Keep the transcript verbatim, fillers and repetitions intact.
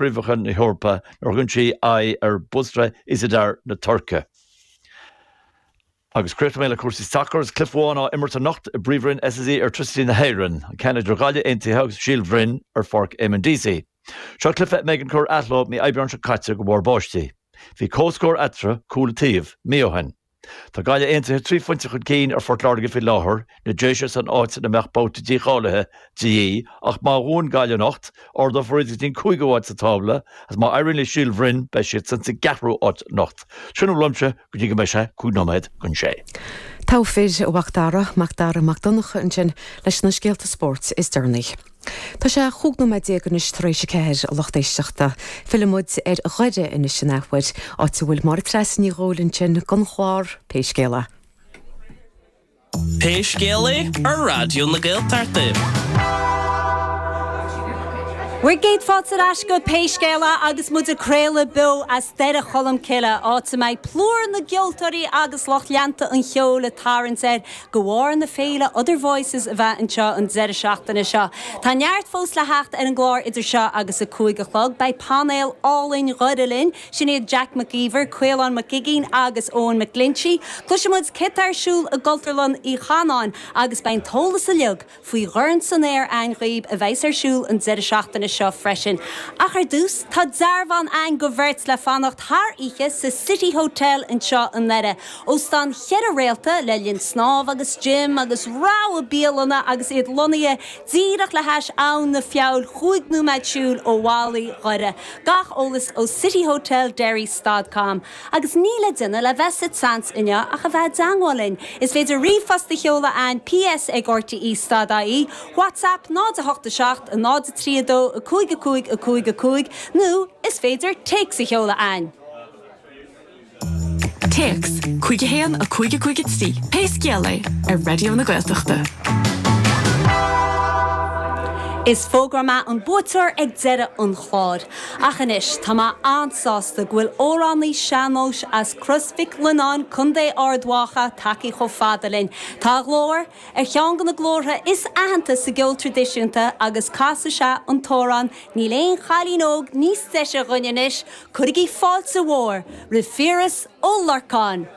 Chraobhacha na hEorpa nuair a thugann sí aghaidh ar Bursa Iğdır na Tuirce. Agus críochnóidh mé le cúrsaí sacair is cluiche amháin á imirt anocht i bPríomhroinn SSE Airtricity na hÉireann, an ceann idir Gaillimh Aontaithe agus Síol Bhroin ar Pháirc Eamon Deasy. Seo cluiche a mb'éigean cur athló mí Aibreáin seo caite de bharr báistí. Bhí comhscór eatarthu, cúl an taobh, mí ó shin. Tá Gaillimh Aontaithe trí phointe chun cinn ar Phort Láirge faoi láthair, na Déise san áit ina mbeadh babhta dícháilithe de dhíth, ach má bhuann Gaillimh anocht, ardófar iad go dtí an cúigiú háit sa tábla, agus má éiríonn le Síol Bhroin beidh siad sa gceathrú háit anocht. Sin a bhfuil uaimse go dtí go mbeidh sé cúig nóiméad don sé. Togha fir, a Mhac Dara, Mac Dara Mac Donncha ansin leis na scéalta spóirt is deireanaí. Tá sé chúig nóiméad déag anois tar éis a ceathair a lucht éisteachta. Fillfidh muid ar Dhoire anois an athuair, áit a bhfuil Máire Treasa Ní Dhubhghaill ansin don chlár Pé Scéal É. Pé Scéal É ar Raidió na Gaeltachta. Bhur gcéad fáilte ar ais go Pé Scéal É agus muid ag craoladh beo as Doire Cholm Cille, áit a mbeidh plúr na gceoltóirí agus lucht leanta an cheoil ag tarraingt air de bharr na féile Other Voices a bheith anseo an deireadh seachtaine seo. Tá neart fós le theacht ar an gclár idir seo agus a cúig a chlog, beidh painéal álainn Dhoire linn, sin iad Jack McGeever, Caolán Mac Uiginn agus Eoin McGlinchey. Cloisfidh muid cad tá ar siúl i gCultúrlann Uí Chanáin agus beidh an t-eolas uilig faoi Dhorn san Aer againn dhaoibh a bheas ar siúl an deireadh seachtaine seo freisin. Ach ar dtús tá dearbhán againn do bheirt le fanacht thar oíche sa City Hotel anseo i nDoire. Óstán cheithre réalta le linn snámh agus gym agus rogha bialanna agus iad lonnaithe díreach le hais Abhainn na Feabhail cúig nóiméad siúil ó bhallaí Dhoire. Gach eolas ó cityhotelderry.com. Agus níl le déanamh le bheith sa tseans inniu ach a bheith i dteagmháil linn. Is féidir ríomhphost a sheoladh chugainn PS ag RTE stad IE, WhatsApp náid a hocht a seacht a náid a trí a dó a cúig a cúig a cúig a cúig nó is féidir téacs a sheoladh chugainn. Téacs cúig a haon a cúig a cúig a trí Pé Scéal É ar Raidió na Gaeltachta. Is fógróidh mé an buaiteoir ag deireadh an chláir. Ach anois tá mé an-sásta go bhfuil amhránaí sean-nóis as Crois Mhic Lionnáin Contae Ard Mhacha tagtha chomh fada linn. Tá a ghlór ar cheann de na glórtha is aitheanta sa gceol traidisiúnta agus casfaidh sé an t-amhrán níl aon chailín óg níos deise dhúinn anois, cuirigí fáilte mhór roimh Phiaras Ó Lorcáin.